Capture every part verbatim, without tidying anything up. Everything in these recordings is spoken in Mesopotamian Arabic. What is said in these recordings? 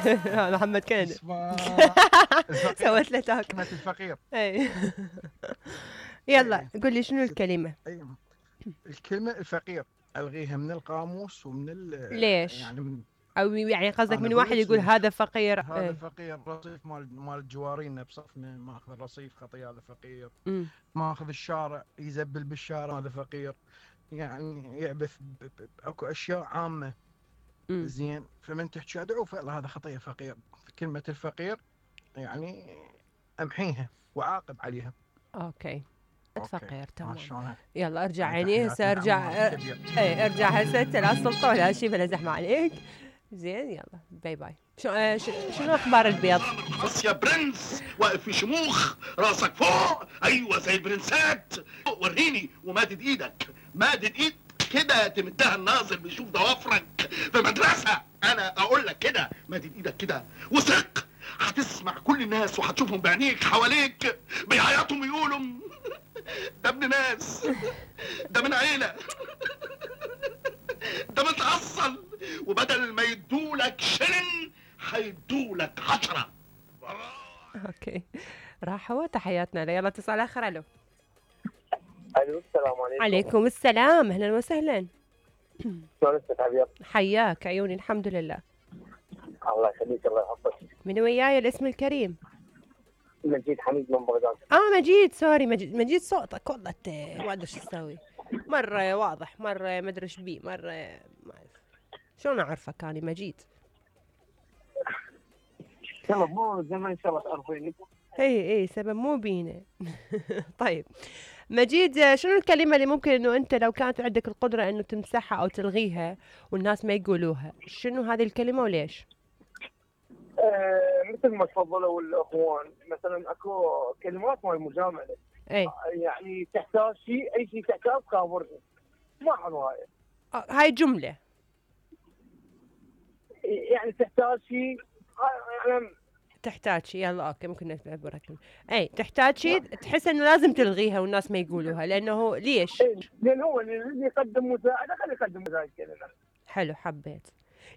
هذا محمد كندا. اسمع سويت له تاك. كلمة الفقير. اي يلا إيه. قول لي شنو الكلمة؟ أي الكلمة الفقير ألغيها من القاموس ومن ال ليش؟ يعني من او يعني قصدك أنا من أقول واحد لك يقول ليش. هذا فقير. هذا ايه. فقير رصيف مال مال الجوارين بصفنا ماخذ الرصيف خطيه هذا فقير. أمم. ماخذ الشارع يزبل بالشارع هذا فقير. يعني يعبث ب- ب- اكو اشياء عامه. أمم. زين فمن تحكي ادعو فعلا هذا خطيه فقير. كلمه الفقير يعني امحيها وعاقب عليها. اوكي أوكي. فقير ما تمام. شلونك؟ يلا ارجع هاي عيني هسه تحياتي ارجع. لعمار الكبير. اي ارجع هسه انت لا سلطه ولا شيء بلا زحمه عليك. زين يلا باي باي. شو آه ش- شنو اخبار البيض؟ بص يا برنس واقف في شموخ راسك فوق ايوه زي البرنسات وريني ومادد ايدك مادد ايد كده تمدها الناظر بيشوف ضوافرك في مدرسه انا اقول لك كده مادد ايدك كده وثق هتسمع كل الناس وهتشوفهم بعينيك حواليك بيعيطوا ويقولوا ده ابن ناس ده من عيله ده متأصل وبدل ما يدولك شلن هيدولك عشرة. اوكي راحوا تحياتنا له. يلا اتصال اخر. الو. الو السلام عليكم. عليكم السلام اهلا وسهلا. شلون استاذ عبير؟ حياك عيوني الحمد لله. الله يخليك الله يحفظك. من وياي الاسم الكريم؟ مجيد حميد من بغداد. اه مجيد سوري مجيد مجيد صوتك والله ما ادري شو تسوي. مره واضح مره ما ادري ايش بيه مره ما اعرف شلون اعرفك انا مجيد. يلا مو زمان ان شاء الله تعرفيني. اي اي سبب مو بينا. طيب مجيد شنو الكلمة اللي ممكن انه انت لو كانت عندك القدرة انه تمسحها او تلغيها والناس ما يقولوها، شنو هذه الكلمة وليش؟ آه مثل ما تفضلوا الاخوان مثلا اكو كلمات مال مجامله. اي يعني تحتاج شيء اي شيء تحتاج خابرني. ما حلو هاي. آه هاي جملة. يعني تحتاج شيء يعني تحتاج شيء يلا اوكي ممكن نعتبرها كلمة. اي تحتاج شيء تحس انه لازم تلغيها والناس ما يقولوها لانه ليش؟ إيه، لان هو اللي يقدم مساعده خليه يقدم مساعده كلمه. حلو حبيت.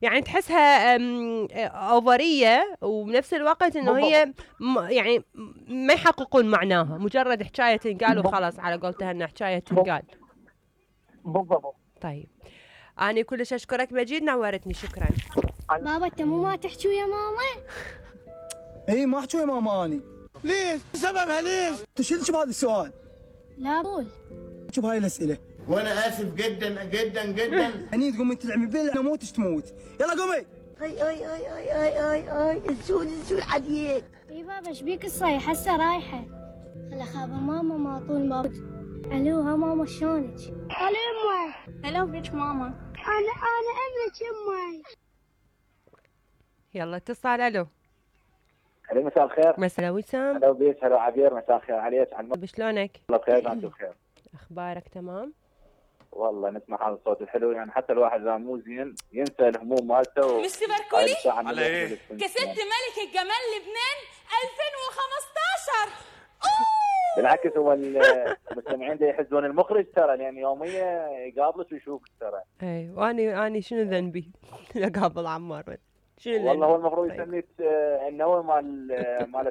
يعني تحسها أم، اوفريه وبنفس الوقت انه هي م- يعني ما يحققون معناها مجرد حكايه تنقال وخلاص على قولتها انها حكايه تنقال. بالضبط. طيب انا كلش اشكرك مجيد نورتني شكرا. بابا انت مو ما تحكي ويا ماما؟ اي ما احكي ويا ماما اني. ليش؟ سببها ليش؟ تشيل بهذا السؤال؟ لا قول. شوف هاي الاسئله. وانا اسف جدا جدا جدا. هني تقومي تلعبي بيل انا موتش تموت. يلا قومي. اي اي اي اي اي اي اي السود السود عليك. اي بابا ايش بيك الصيح هسه رايحه. خل اخابر ماما ما طول بابا. الو ها ماما شلونك؟ الو امي. الو بيك ماما. انا انا ابنك امي. يلا اتصال. الو. الو مساء الخير. مساء وسام. هلا بيك هلا عبير مساء الخير عليك على المطلب. شلونك؟ الله بخير وانتم بخير. اخبارك تمام؟ والله نسمع هذا الصوت الحلو يعني حتى الواحد اذا مو زين ينسى الهموم مالته و... مستر بركولي على ايه؟ كسبت ملك الجمال لبنان ألفين وخمسطعش. بالعكس هو المستمعين دا يحزون المخرج ترى لان يوميا يقابلك ويشوفك ترى. اي واني اني شنو ذنبي؟ اقابل عمار شنو والله هو ذنبي؟ المفروض طيب. يسميك النوى مال مال